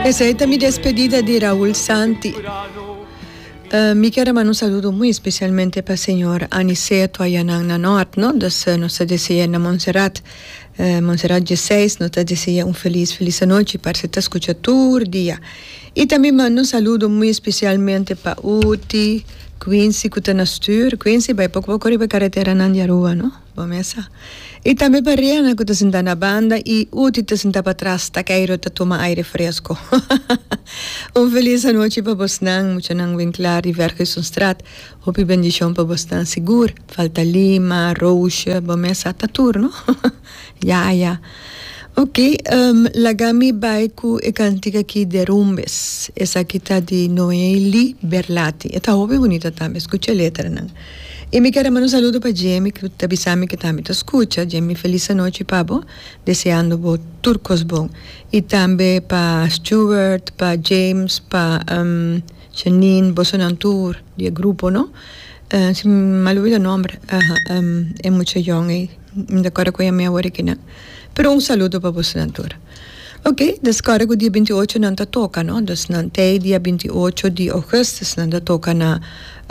Esey ta mi despedida di Raul Santi. Mi kier a manda un saludo muy especialmente pa señor Aniceto ayanan na Noord, no? Dus nos ta desea na Montserrat, Montserrat dieseis, nos ta desea un feliz, feliz anochi, parse ta scucha tur dia. Y tambe manda un saludo muy especialmente pa Uti, Quincy cu ta na stuur. Quincy bay poco poco riba e carreteranan di Aruba, no? Bo mesa. Y tambe pa Riana cu ta sinta na banda y Uti ta sinta patras ta keiro ta tuma aire fresco. Un feliz anochi pa bosnan, muchanan Winklar di Verguisonstraat. Hopi bendicion pa bosnan sigur. Falta Lima, Roosje, bo mesa ta tur no. Ya ya. Ok, laga mi bai cu e cantica aki Derumbes. Esaki ta di Noeli Berlati. E ta hopi bunita tambe. Scucha e letranan. I mi kere manda un saludo pa Jemy ku ta bisa mi ku tambe ta skucha. Jemy felis anochi pa bo, deseando bo tur kos bon. I tambe pa Stuart, pa James, pa Janine, bosonan tur di e grupo no. Si mi mal olbida nomber, aha, e mucha yòn ei, mi ta kòrda ku e yam'é awor aki nan. Pero un saludo pa bosonan tur. Ok, dus kòrda ku dia 28 nan ta toka no, dus nan t'ei dia 28 di augustus nan ta toka na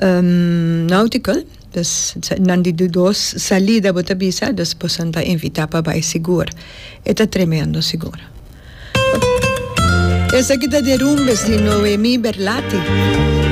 Nautical, dus nan di di dos salida bo ta bisa, dus boso ta invitá pa bai sigur. E ta tremendo sigur. Esaki ta Derumbes di Noemi Berlati.